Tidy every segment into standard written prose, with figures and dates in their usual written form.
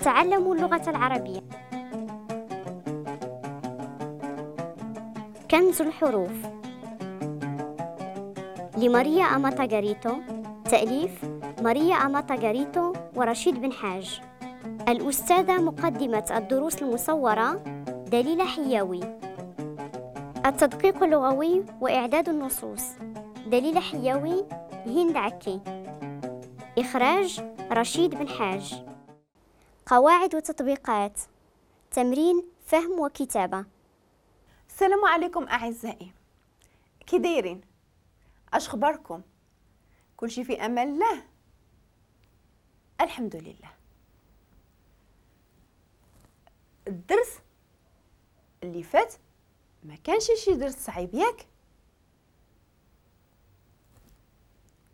نتعلم اللغة العربية. كنز الحروف لماريا أماتا غاريتو، تأليف ماريا أماتا غاريتو ورشيد بن حاج. الأستاذة مقدمة الدروس المصورة دليلة حياوي. التدقيق اللغوي وإعداد النصوص دليلة حياوي، هند عكي. إخراج رشيد بن حاج. قواعد وتطبيقات، تمرين فهم وكتابة. السلام عليكم أعزائي، كي دايرين؟ اش خباركم؟ كلشي في امان الله؟ الحمد لله. الدرس اللي فات ما كانش شي درس صعيب، ياك؟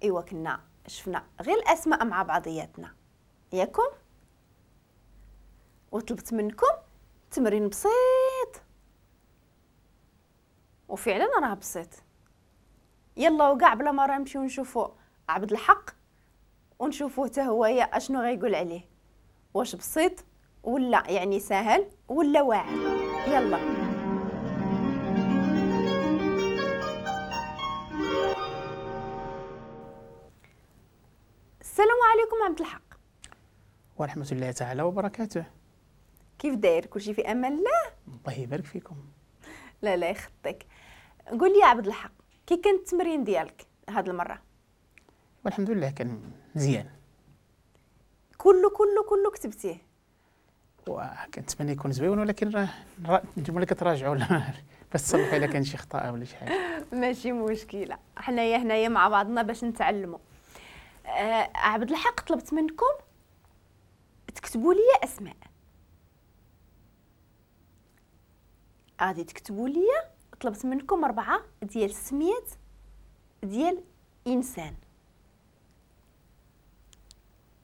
ايوا كنا شفنا غير الاسماء مع بعضياتنا، ياكم؟ وطلبت منكم تمرين بسيط، وفعلا راه بسيط. يلا وقع بلا ما نمشيو نشوفو عبد الحق ونشوفوه حتى هو يا اشنو غيقول عليه، واش بسيط ولا يعني سهل ولا واعر. يلا السلام عليكم عبد الحق. ورحمة الله تعالى وبركاته. كيف داير؟ كلشي في امان الله؟ الله يبارك فيكم. لا لا يخطيك. قول لي يا عبد الحق، كي كان التمرين ديالك هاد المرة؟ والحمد لله كان مزيان. كله كله كله كتبتيه؟ وكنتمنى يكون زوين، ولكن راه نتوما اللي كتراجعوا باش تصلحوا الا كان شي خطأ ولا شي حاجة. ماشي مشكلة، حنايا هنايا مع بعضنا باش نتعلموا. عبد الحق، طلبت منكم تكتبوا لي اسماء. غادي تكتبوا لي، طلبت منكم 4 ديال السميات ديال انسان،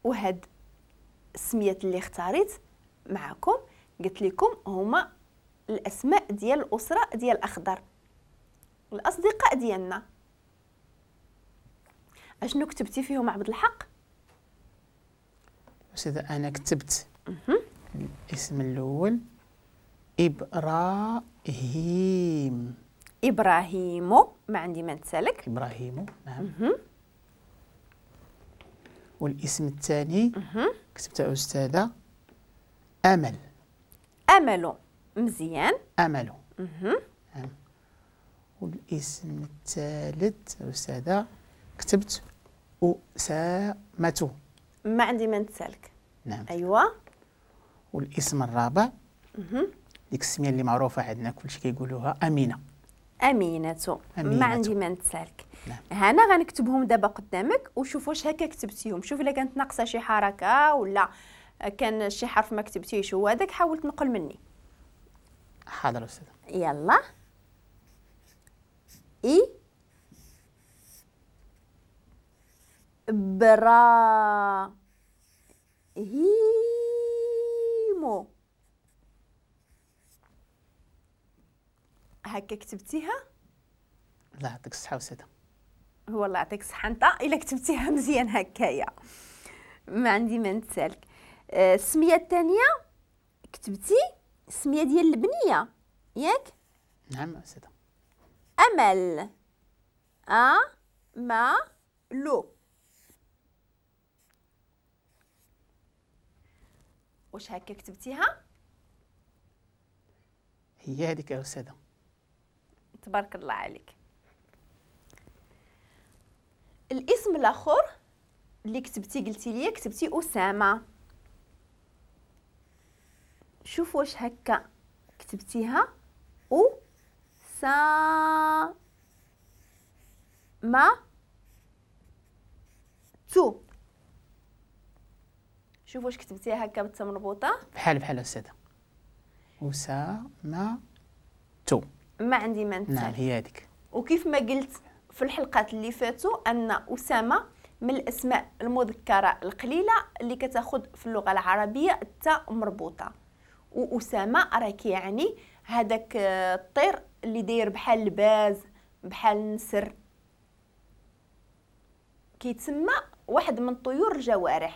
وهاد السميات اللي اختاريت معكم قلت لكم هما الاسماء ديال الاسرة ديال الاخضر، الاصدقاء ديالنا. اشنو كتبتي فيهم عبد الحق؟ أستاذة انا كتبت الاسم الاول إبراهيم. إبراهيم، ما عندي ما نتسالك. إبراهيم، نعم. والاسم الثاني كتبت أستاذة أمل. أمل، مزيان. أمل. نعم. والاسم الثالث أستاذة كتبت أسامة. ما عندي ما نتسالك. نعم. أيوا. والاسم الرابع ديك السمية اللي معروفة عندنا كلشي كيقولوها امينه. امينه، ما عندي ما نتسالك. نعم. هانا غنكتبهم دابا قدامك وشوف واش هكا كتبتيهم، شوف الا كانت ناقصه شي حركة ولا كان شي حرف ما كتبتيهش هو هذاك، حاول تنقل مني. حاضر استاذه. يلا. اي برا هيمو، هكا كتبتيها؟ الله يعطيك الصحة أستاذة. هو الله يعطيك الصحة أنت إلا كتبتيها مزيان هكايا، ما عندي ما نتسالك. السمية الثانية كتبتي السمية ديال البنية، ياك؟ نعم أستاذة. أمل، أ ما لو. واش هكا كتبتيها؟ هي هذيك يا أستاذة. تبارك الله عليك. الاسم الاخر اللي كتبتي قلتي لي كتبتي اسامة، شوف واش هكا كتبتيها. او سا ما تو، شوف واش كتبتيها هكا بالتا مربوطة. بحال بحال استاذه، اسامة تو. ما عندي ما نتسال. نعم هي هذيك. وكيف ما قلت في الحلقات اللي فاتوا ان اسامة من الاسماء المذكرة القليلة اللي كتاخذ في اللغة العربية التاء مربوطة، واسامة راه كيعني هذاك الطير اللي داير بحال الباز بحال النسر، كيتسمى واحد من طيور الجوارح.